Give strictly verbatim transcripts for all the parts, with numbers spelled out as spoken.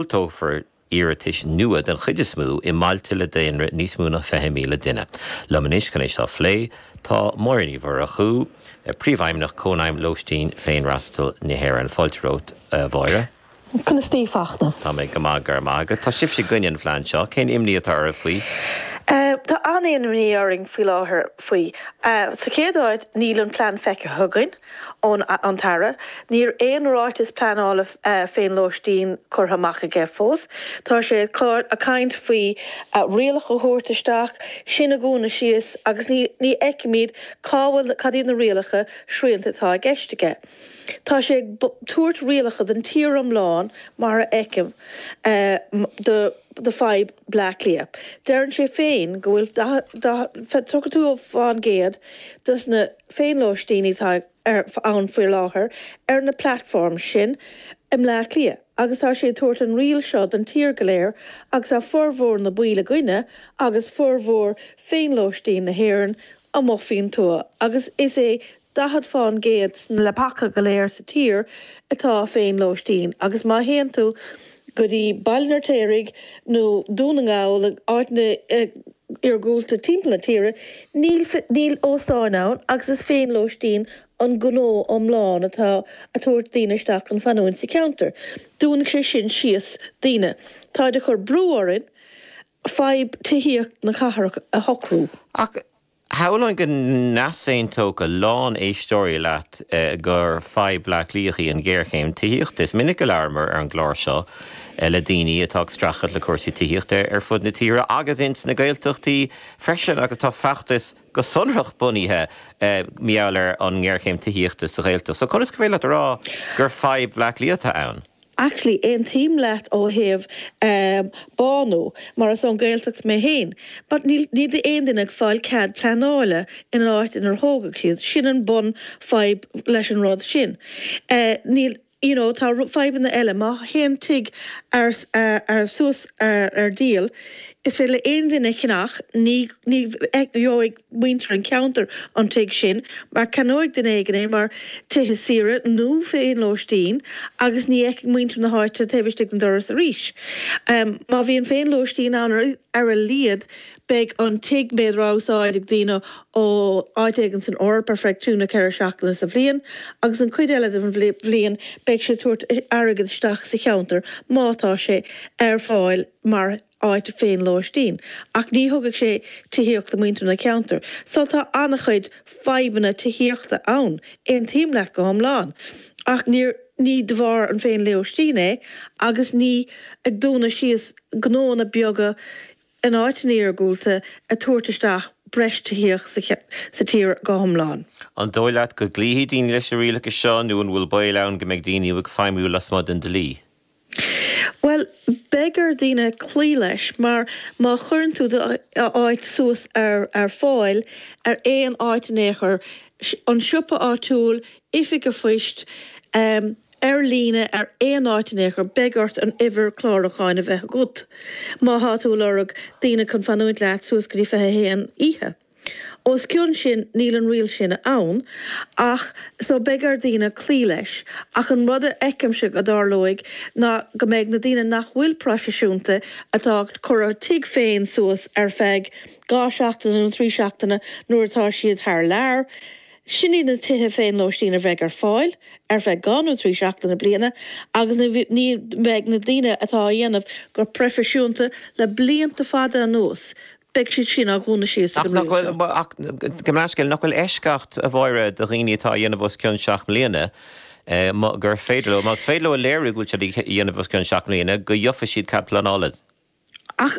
Diúltófar iarratais nua den chuid is mó i mbailte le daonra níos mó ná fiche míle duine. Liom anois chun é seo a phlé tá Máire Ní Mhurchú, Príomhfheidhmeannach Cónaidhm Lóistín Féinfhreastail na hÉireann. Fáilte romhat, a Mháire. Conas tá, Fachtna? Tá mé go maith, go raibh maith agat. Tá sibhse i gcoinne an phlean seo, cén imní atá oraibh faoi? Tá an-imní orainn faoi láthair faoi. Sa chéad áit, níl an plean feicthe againn ón an tAire. Níl aon ráiteas pleanála féinlóistín curtha amach aige fós. Tá sé ag caint faoi rialacha a thabhairt isteach, sin a dhúnadh síos agus ní ní fheicimid cá bhfuil cad iad na rialacha srianta atá i gceist aige. Tá sé ag tabhairt rialacha don tír iomlán mar a fheicim do do fadhb Bleá Cliath. Deireann sé féin go bhfuil tríocha dó fán gcéad dos na féinlóistíní atá ann faoi láthair ar na platforms sin i mBleá Cliath agus tá sé ag tabhairt an riail seo don tír go léir agus tá formhór na baill againne agus formhór féinlóistín na hÉireann amuigh faoin tuath agus is é daichead fán gcéad sna leapacha go léir sa tír atá féinlóistín agus má théann tú go dtí Baile an Fheirtéaraigh nó Dún na nGall, áiteanna iargúlta timpeall na tíre, níl níl óstáin ann agus is féinlóistín an gnó iomlán atá a tabhairt daoine isteach chun fanúint sa cheantar. Dúnfaidh sé sin síos daoine. Táid ag cur brú orainn fadhb tithíocht na cathrach a shocrú. Ach shamhlóinn go n-easaontódh a lán éisteoirí leat gur fadhb Bhleá Cliath í an ghéarchéim tithíochta. Is minic a labhramar ar an gclár seo le daoine atá ag streachailt le cúrsaí tithíochta ar fud na tíre agus ins na Gaeltachtaí freisin agus tá feachtas go sonrach bunaithe mar gheall ar an ngéarchéim tithíochta sa Ghaeltacht. So conas gur féidir leat a rá gur fadhb Bhleá Cliath atá ann? Actually, aontaím leat ó thaobh bánú, mar is ón Ghaeltacht mé féin, but níl níl aon duine ag fáil cead pleanála in an áit inar thógadh siad. Sin an bun fadhb leis an rud sin. Níl you know, tá fadhbanna eile. Má théann tigh ar ar suas ar ar díol, is féidir le aon duine ceannach, ní ní gheobhaidh muintir an cheantair an tigh sin mar ceannóidh duine éigin é mar tithe saoire nó féinlóistín agus ní fheicfidh muintir na háite taobh istigh den doras arís. Má bhíonn féinlóistín ann ar a laghad beidh an tigh b'fhéidir á úsáid ag daoine ó áit éigin san Eoraip ar feadh trí nó ceithre seachtaine sa bhliain agus an chuid eile den bhliain beidh sé ag tabhairt airgead isteach sa cheantar má tá sé ar fáil mar áit féinlóistín. Ach ní thugfaidh sé tithíocht do mhuintir na ceantar. So tá an-chuid fadhbanna tithíochta ann, aontaím leat go hiomlán. Ach níor ní de bharr an féinlóistín é agus ní ag dúnadh síos gnóanna beaga in áiteanna iargúlta a tabhairt isteach breis tithíocht sa tír go hiomlán. An dóigh leat go gcloífidh daoine leis na rialacha seo nó an bhfuil baol ann go mbeidh daoine ag feidhmiú lasmuigh den dlí? Bhuel, beidh ar daoine cloí leis mar má chuireann tú d'áit suas ar ar fáil ar aon áit in aon chor, an siopa áitiúil, oifig an phoist, ar líne ar aon áit in aon chor, beidh ort an uimhir chlárúcháin a bheith agat má thá tú ag lorg daoine chun fanúint leat suas go dtí fiche a haon oíche. Os cionn sin, níl an riail sin ann ach so beidh ar daoine cloí leis. Ach an rud a fheicimse go dtarlóidh ná go mbeidh na daoine nach bhfuil proifisiúnta atá ag cur a tigh féin suas ar feadh dhá seachtaine nó trí seachtaine nuair atá siad thar lear, sin iad na tithe féinlóistín a bheidh ar fáil ar feadh dhá nó trí seachtaine bliana agus ní bheidh na daoine atá á dhéanamh go proifisiúnta le blianta fada anuas, beidh siad sin á dhúnadh síos ag Ach an nach riail bhfuil, seo. ach gabh mo leithscéal, nach bhfuil eisceacht, a Mháire, do dhaoine atá á dhéanamh os cionn seacht mbliana, gur féidir leo, más féidir leo a léiriú go bhfuil siad á dhéanamh os cionn seacht mbliana, go gheofaidh siad cead pleanála. Ach,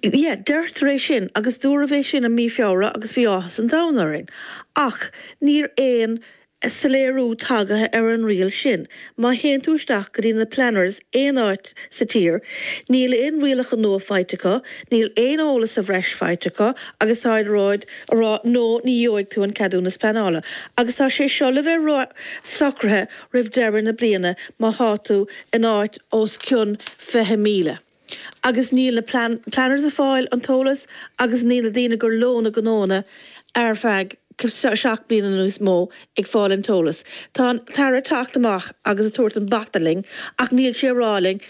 yeah, deirtear é sin, agus dúradh é sin i mí Feabhra agus bhí áthas an domhain orainn. Ach níl aon soiléiriú tagaithe ar an riail sin. Má théann tú isteach go dtí na planners aon áit sa tír, níl aon rialacha nua faighte acu, níl aon eolas sa bhreis faighte acu agus táid ag rá no, ní gheobhaidh tú an ceadúnas pleanála. Agus tá sé seo le bheith socraithe roimh deireadh na bliana má thá tú in áit os cionn fiche míle. Agus níl na planners ag fáil an t-eolas agus níl na daoine gur leo na gnóanna ar feadh seacht bliana nó níos mó ag fáil an t-eolas. Tá an tAire ag teacht amach agus ag tabhairt an bata linn ach níl sé ag rá linn